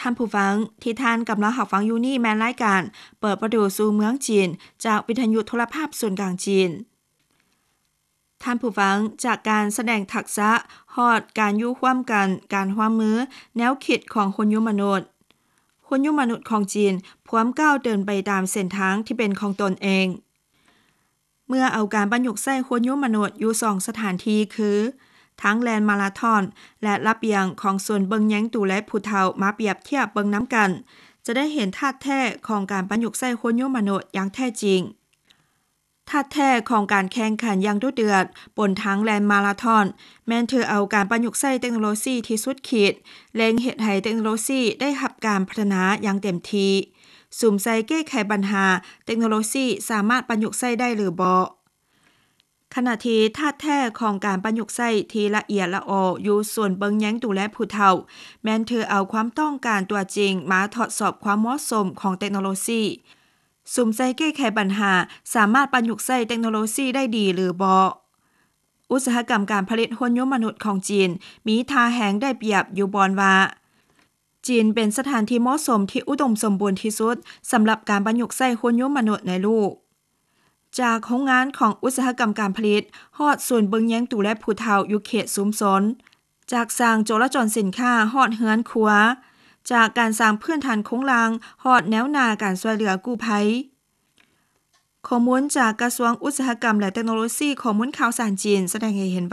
ທ່ານຜູ້ຟັງ ທີ່ທ່ານກຳລັງຮັບຟັງຢູ່ນີ້ແມ່ນລາຍການເປີດປະຕູສູ່ເມືອງຈີນ ຈາກວິທະຍຸໂທລະພາບສູນກາງຈີນ. ທ່ານຜູ້ຟັງ, ຈາກການສະແດງທັກສະ ຮອດການຢູ່ຮ່ວມກັນ, ການຮ່ວມມື, ແນວຄິດຂອງຮຸ່ນຍົນມະນຸດ. ຮຸ່ນຍົນມະນຸດຂອງຈີນພວມກ້າວເດີນໄປຕາມເສັ້ນທາງທີ່ເປັນຂອງຕົນເອງ. ເມື່ອເອົາການປະຍຸກໃຊ້ຮຸ່ນຍົນມະນຸດຢູ່ສອງສະຖານທີ່ຄື ທາງແລ່ນມາລາທອນ ແລະ ລະບຽງຂອງສູນເບິ່ງແຍງດູແລຜູ້ເຖົ້າມາປຽບທຽບເບິ່ງນຳກັນ, ຈະໄດ້ເຫັນທາດແທ້ຂອງການປະຍຸກໃຊ້ຮຸ່ນຍົນມະນຸດຢ່າງແທ້ຈິງ. ທາດແທ້ຂອງການແຂ່ງຂັນຢ່າງດຸເດືອດບົນທາງແລ່ນມາລາທອນ ແມ່ນຖືເອົາການປະຍຸກໃຊ້ເຕັກໂນໂລຊີທີ່ສຸດຂີດ ເລັ່ງເຮັດໃຫ້ເຕັກໂນໂລຊີໄດ້ຮັບການພັດທະນາຢ່າງເຕັມທີ່, ສຸມໃສ່ແກ້ໄຂບັນຫາເຕັກໂນໂລຊີສາມາດປະຍຸກໃຊ້ໄດ້ຫຼືບໍ່. ຂະນະທີ່ທາດແທ້ຂອງການປະຍຸກໃຊ້ທີ່ລະອຽດລະອໍຢູ່ສູນເບິ່ງແຍງດູແລຜູ້ເຖົ້າ ແມ່ນຖືເອົາຄວາມຕ້ອງການຕົວຈິງມາທົດສອບຄວາມເໝາະສົມຂອງເຕັກໂນໂລຊີ, ສຸມໃສ່ແກ້ໄຂບັນຫາສາມາດປະຍຸກໃຊ້ເຕັກໂນໂລຊີໄດ້ດີຫຼືບໍ່. ອຸດສາຫະກຳການຜະລິດຮຸ່ນຍົນມະນຸດຂອງຈີນມີທ່າແຮງໄດ້ປຽບຢູ່ບ່ອນວ່າ ຈີນເປັນສະຖານທີ່ເໝາະສົມທີ່ອຸດົມສົມບູນທີ່ສຸດສຳລັບການປະຍຸກໃຊ້ຮຸ່ນຍົນມະນຸດໃນໂລກ. ຈາກໂຮງງານຂອງອຸດສາຫະກຳການຜະລິດ ຮອດສູນເບິ່ງແຍງດູແລຜູ້ເຖົ້າຢູ່ເຂດຊຸມຊົນ, ຈາກສ້າງໂຈລະຈອນສິນຄ້າຮອດເຮືອນຄົວ, ຈາກການສ້າງພື້ນຖານໂຄງລ່າງຮອດແນວໜ້າການຊ່ວຍເຫຼືອກູ້ໄພ. ຂໍ້ມູນຈາກກະຊວງອຸດສາຫະກຳ ແລະ ເຕັກໂນໂລຊີ ຂໍ້ມູນຂ່າວສານຈີນສະແດງໃຫ້ເຫັນວ່າ